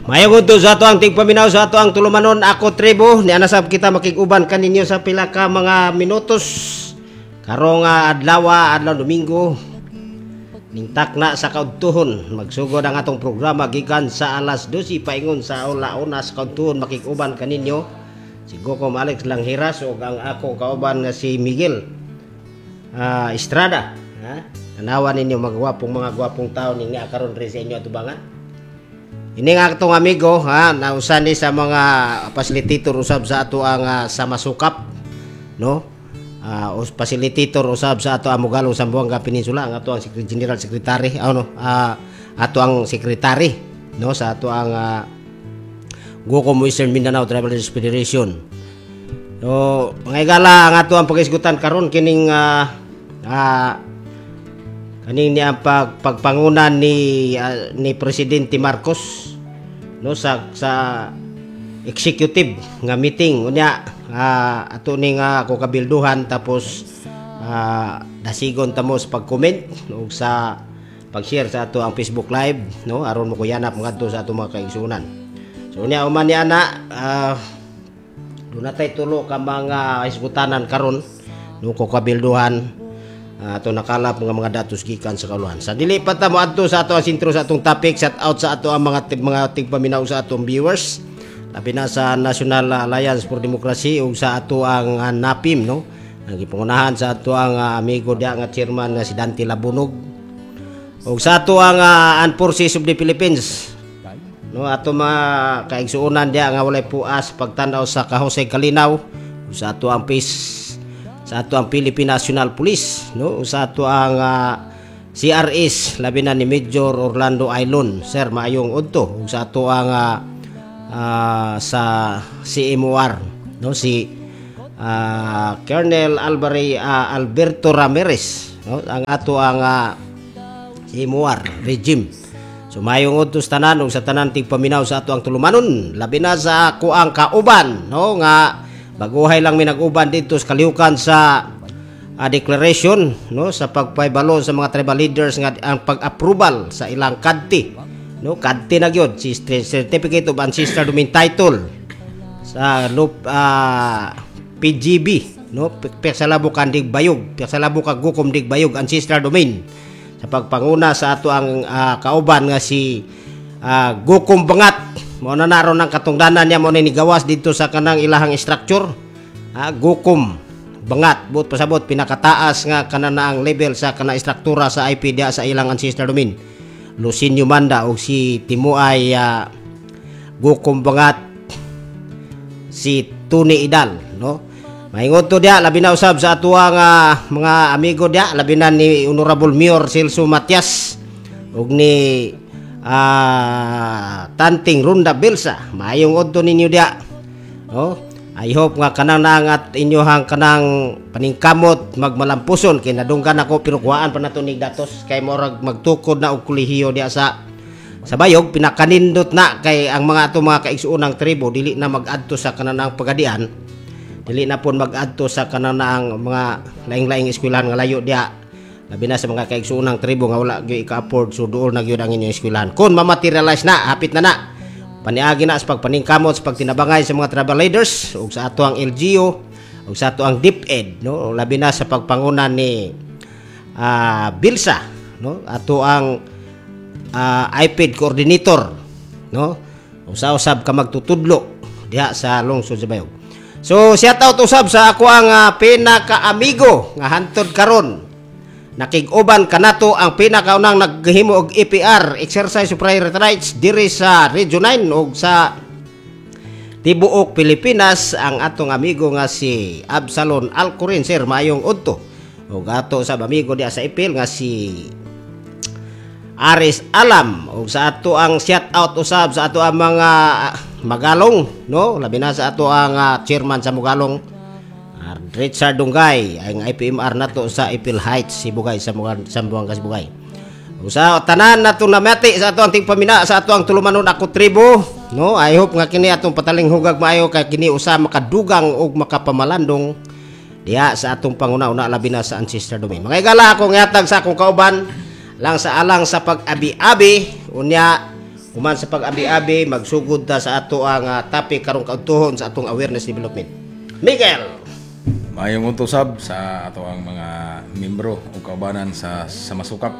Mayong udto sa ato ang tigpaminaw sa ato ang tulumanon ako tribo ni anasab kita makig-uban kaninyo sa pila ka mga minutos karong adlaw, adlaw Domingo, ning takna sa kaudtuhon. Magsugod ang atong programa gikan sa alas 12 paingon sa una sa kaudtuhon. Makig-uban kaninyo si Gokom Alex Langhiras ug ang ako kauban nga si Miguel Estrada, ha? Tanawa ninyo mga gwapong, mga gwapong tao ning naa karon diri sa inyo atubangan. Ini nga atong amigo, ha, nausa ni sa mga facilitator usab sa ato ang sa Masukap, no? Facilitator usab sa ato ang Mugalong Zamboanga Peninsula, ang ato ang General Secretary, ano, ato ang secretary, no, sa ato ang Gukom Western Mindanao Tribal Leaders Federation. So, mga igala, ang ato ang pagisgutan karon kining kaning niya pagpanguna ni Presidente Marcos, no, sa executive nga meeting. Unya ato ni nga ako kabilduhan, tapos dasigon ta mo sa pag-comment ug sa pag-share sa ato ang Facebook Live, no, aron mo kuyanap ngadto sa ato mga kaigsuonan. So unya human ni ana, duna tay tulo ka mga hisgutanan karon, no, ko kabilduhan ato nakalap mga datos gikan sa kauluhan. Sa dili pa ta moadto sa ato ang sentro sa atong topic, shout out sa ato ang mga tigpaminaw sa atong viewers. Labi na sa National Alliance for Democracy ug sa ato ang NAPIM, no. Ang gipangunahan sa ato ang amigo diya nga chairman nga si Dante Labunog. Ug sa ato ang Armed Forces of the Philippines, no, ato mga kaigsuonan diya nga walay puas pagtan-aw sa kahusay kalinaw, ug sa ato ang peace, sa ato ang Philippine National Police, no, ug sa ato ang CRS, labi na ni Major Orlando Aylon. Sir, maayong udto. Ug sa ato ang sa CMOR, no, si Colonel Alvare Alberto Ramirez, no, ang ato ang CMOR regime. So maayong udto sa tanan ug sa tanan tigpaminaw sa ato ang tulumanon, labi na sa ako ang kauban, no, nga baguhay lang mi nag-uban dito sa kalihukan sa declaration, no, sa pagpahibalo sa mga tribal leaders nga ang pag-approval sa ilang CADT, no. CADT na gyud si Certificate of Ancestral Domain Title sa loop PGB, no, Peksalabo Kandig Bayog, Peksalabo kag Gukom Dig Bayog Ancestral Domain, sa pagpanguna sa ato ang kauban nga si Gukom Bangat. Mao na naron ang katungdanan niya, mao na ni gawas dito sa kanang ilahang structure, Gukom Bangat, buot pasabot pinakataas nga kanan na ang level sa kanang istruktura sa IP diya sa ilang ancestral domain. Lucinio Manda og si Timuay Gukom Bangat si Tony Idal, no. Maingon to diya, labi na usab sa atuang mga amigo diya, labi na ni Honorable Mayor Celso Matias ug ni Tanting Runda Belsa. Maayong udto ninyo diya, no. I hope nga kanang naangat inyohang kanang paningkamot magmalampuson kay nadunggan ako, pero kuhaan pa nato nig datos kay morag magtukod na og kolehiyo diya sa Bayog. Pinakanindot na kay ang mga ato mga kaigsuonang tribo dili na mag-adto sa kananang Pagadian, dili na pon mag-adto sa kananang mga laing-laing eskwelahan nga layo diya, labi na sa mga kaigsuonang tribo nga wala gyud ika-afford. So duol na gyud ang inyong eskwelahan kon ma-materialize na, hapit na na, paniagi na sa pagpaningkamot, sa pagtinabangay sa mga tribal leaders ug sa ato ang LGU ug sa ato ang DepEd, no, labi na sa pagpanguna ni Bilsa, no, ato ang IPED coordinator, no, usa-usab ka magtutudlo diha sa lungsod sa Bayog. So shout out usab sa ako ang pinaka-amigo nga hantod karon nakig-uban kanato, ang pinakaunang naghimo og EPR, exercise of priority rights, diri sa Region 9 ug sa tibuok Pilipinas, ang atong amigo nga si Absalon Alcorin. Sir, maayong udto. Ug ato sa amigo diha sa Ipil nga si Aris Alam, ug sa ato ang shout out usab sa ato ang mga Magalong, no, labi na sa ato ang chairman sa Mugalong, Richard Dungay, ang IPMR nato sa Ipil Heights, Sibugay, sa Zamboanga Sibugay. Ug sa tanan nato namati sa ato ang tigpamina sa ato ang tulumanon ako tribo, no, I hope nga kini atong patalinghugag maayo kay kini usa makadugang ug makapamalandong diha sa atong panguna-una, labi na sa ancestral domain. Mga igala, akong gihatag sa akong kauban lang sa alang sa pag-abi-abi. Unya Human sa pag-abi-abi, magsugod ta sa ato ang topic karong kaudtohon sa atong awareness development. Miguel. Maayong udto sab sa ato ang mga membro ug kaubanan sa Masukap.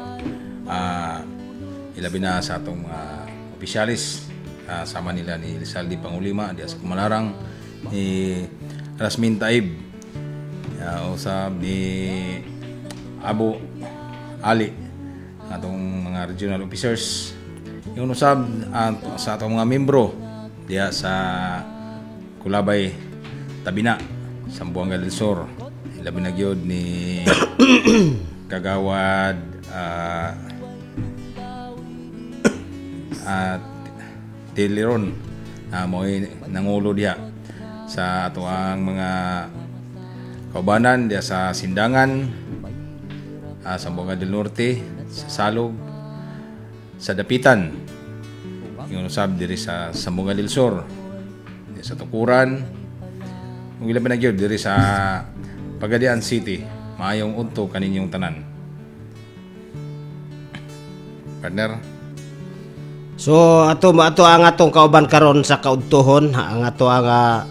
Ilabi na sa atong mga opisyalis, sama nila ni Lizalde Pangulima diya sa Kumalarang, ni Rasmin Taib, usab ni Abu Ali, atong mga regional officers. Yung usab sa atong mga membro diya sa Kulabay Tabina, Zamboanga del Sur. Ilabi na gyud ni Kagawad at Tiliron na mo'y nangulo diha sa ato ang mga kaubanan diha sa Sindangan, Zamboanga del Norte, sa Salog, sa Dapitan, yung usab diri sa Zamboanga del Sur, diri sa Tukuran, ug ilabi na gyud diri sa Pagadian City. Maayong udto kaninyong tanan. Partner. So ato ang atong kauban karon sa kaudtohon, ang ato ang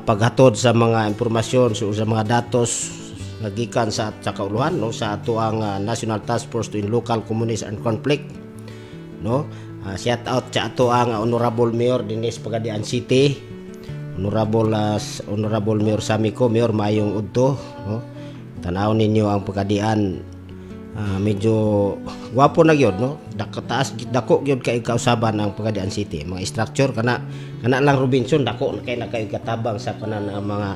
paghatod sa mga impormasyon, so, sa mga datos nga gikan sa kauluhan, no, sa ato ang National Task Force to End Local Communist Armed Conflict, no. Shout out sa ato ang Honorable Mayor dinhi sa Pagadian City, Honorable Mayor Samico. Mayor, maayong udto, no. Tan-aw ninyo ang Pagadian, medyo gwapo na gyud, no. Dako, taas, dako gyud kay kausaban ang Pagadian City, mga structure kana kana lang Robinson, dako na kay na kay katabang sa kanan ang mga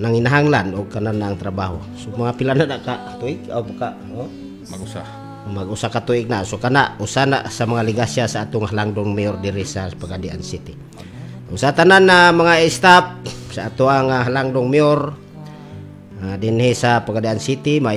nanginahanglan og kanan ang trabaho. So mga pila na ka tuig o ka, oh? Mag-usa. Mag-usa ka tuig na. So kana usa na sa mga legasya sa atong halangdong mayor diri sa Pagadian City. Usa tanan na mga staff sa ato ang halangdong mayor dinhi sa Pagadian City.